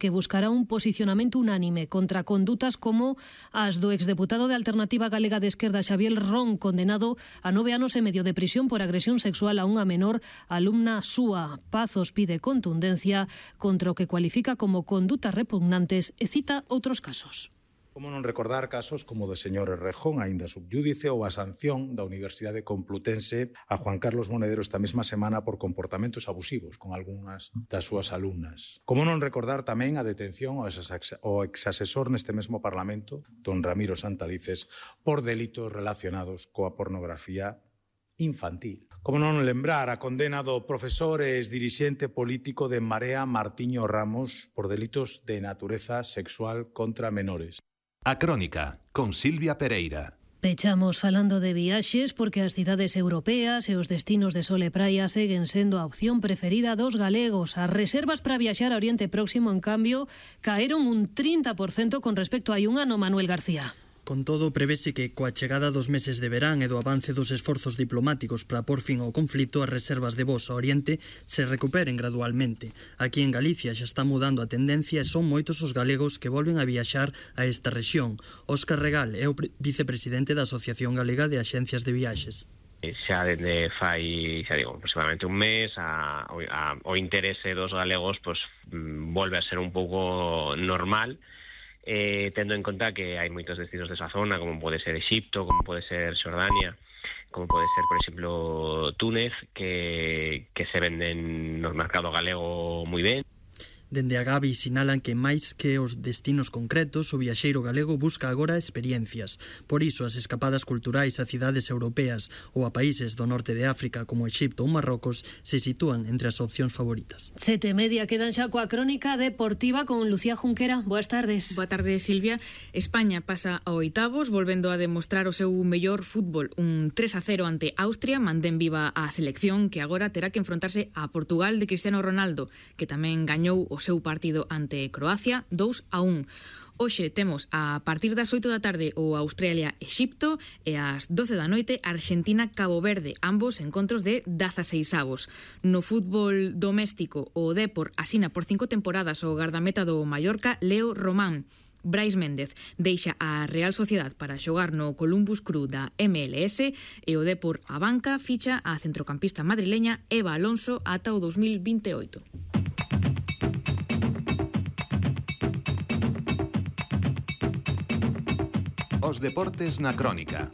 que buscará un posicionamento unánime contra condutas como as do exdeputado de Alternativa Galega de Esquerda Xavier Ron, condenado a 9 anos e medio de prisión por agresión sexual a unha menor alumna súa. Pazos pide contundencia contra o que cualifica como condutas repugnantes e cita outros casos. Como non recordar casos como o do señor Errejón, aínda subyúdice, ou a sanción da Universidade Complutense a Juan Carlos Monedero esta mesma semana por comportamentos abusivos con algunhas das súas alumnas. Como non recordar tamén a detención ao exasesor neste mesmo Parlamento, don Ramiro Santalices, por delitos relacionados coa pornografía infantil. Como non lembrar a condena do profesor e exdirixente político de En Marea Martiño Ramos por delitos de natureza sexual contra menores. A Crónica, con Silvia Pereira. Pechamos falando de viaxes porque as cidades europeas e os destinos de sol e praia seguen sendo a opción preferida dos galegos. As reservas para viaxar a Oriente Próximo, en cambio, caeron un 30% con respecto a hai un ano, Manuel García. Con todo, prevese que coa chegada dos meses de verán e do avance dos esforzos diplomáticos para por fin ao conflito, as reservas de voos ao Oriente se recuperen gradualmente. Aquí en Galicia xa está mudando a tendencia e son moitos os galegos que volven a viaxar a esta rexión. Óscar Regal é o vicepresidente da Asociación Galega de Axencias de Viaxes. Xa dende fai, xa digo, aproximadamente un mes o interese dos galegos volve a ser un pouco normal, tendo en conta que hai moitos destinos desa zona, como pode ser Exipto, como pode ser Xordania, como pode ser, por exemplo, Túnez, que se venden no mercado galego moi ben. Dende a Gavi sinalan que máis que os destinos concretos, o viaxeiro galego busca agora experiencias. Por iso, as escapadas culturais a cidades europeas ou a países do norte de África como Exipto ou Marrocos se sitúan entre as opcións favoritas. 7:30 quedan xa coa crónica deportiva con Lucía Junquera. Boas tardes. Boa tarde, Silvia. España pasa a oitavos, volvendo a demostrar o seu mellor fútbol. Un 3-0 ante Austria, mantén viva a selección que agora terá que enfrontarse a Portugal de Cristiano Ronaldo, que tamén gañou o seu partido ante Croacia 2-1. Hoxe temos a partir das 8 da tarde o Australia-Exipto e ás 12 da noite Argentina-Cabo Verde, ambos encontros de 16avos. No fútbol doméstico, o Depor asina por 5 temporadas o gardameta do Mallorca, Leo Román. Brais Méndez deixa a Real Sociedade para xogar no Columbus Crew da MLS e o Depor a banca ficha a centrocampista madrileña Eva Alonso ata o 2028. Os deportes na Crónica.